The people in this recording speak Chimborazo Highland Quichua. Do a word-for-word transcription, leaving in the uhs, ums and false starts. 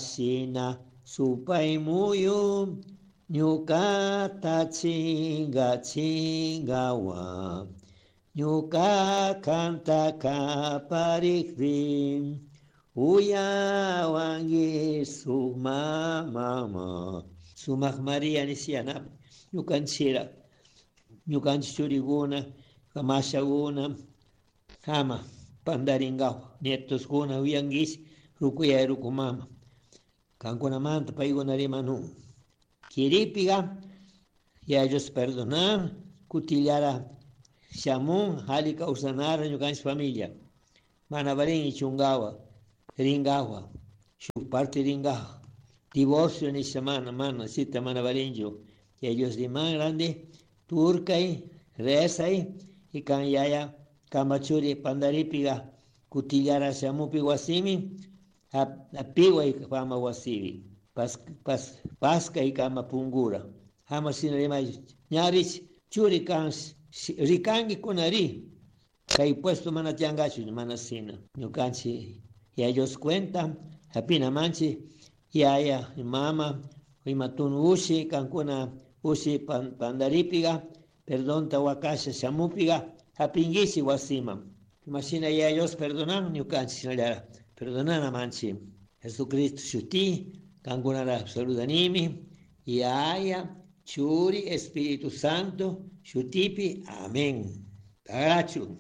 Shina supay muyu ñucata chinga chingawa ñuka kanta kaparikpi uyawanki suma mama sumak Maria nisiana ñukanchira ñukanchik churikuna mashakuna ama pandarinkawa nietoskuna uyankichik rukuyay ruku mama kankunamanta paykuna rimanun kiripiga Yaya Dios perdonan kutillara shamun alli kawsanara ñukanchik familia mana valin ichunkawa rinkawa shuk parte rinkawa divorcio nisha mana mana chita mana valinchu Yaya Dios riman ranti turkay rezay y kan yaya kama churi pandaripiga kutillara shamupi wasimi apiway kama wasipi pas, pas, paskay kama pungura ama shina rimay ña rich churi kan rikanki kuna ri kay puesto mana tiyankachu mana shina ñukanchik Yaya Dios cuenta hapina manchik yaya mama ima tunu ushi kankuna ushi pan, pandaripiga perdonta wakasha shamupiga hapinkichik wasiman imashina Yaya Dios perdonan ñukanchik shinallara perdonana manchik Jesucristo shuti kankunara saludanimi Yaya Churi Espíritu Santo shutipi amén. Tagachu.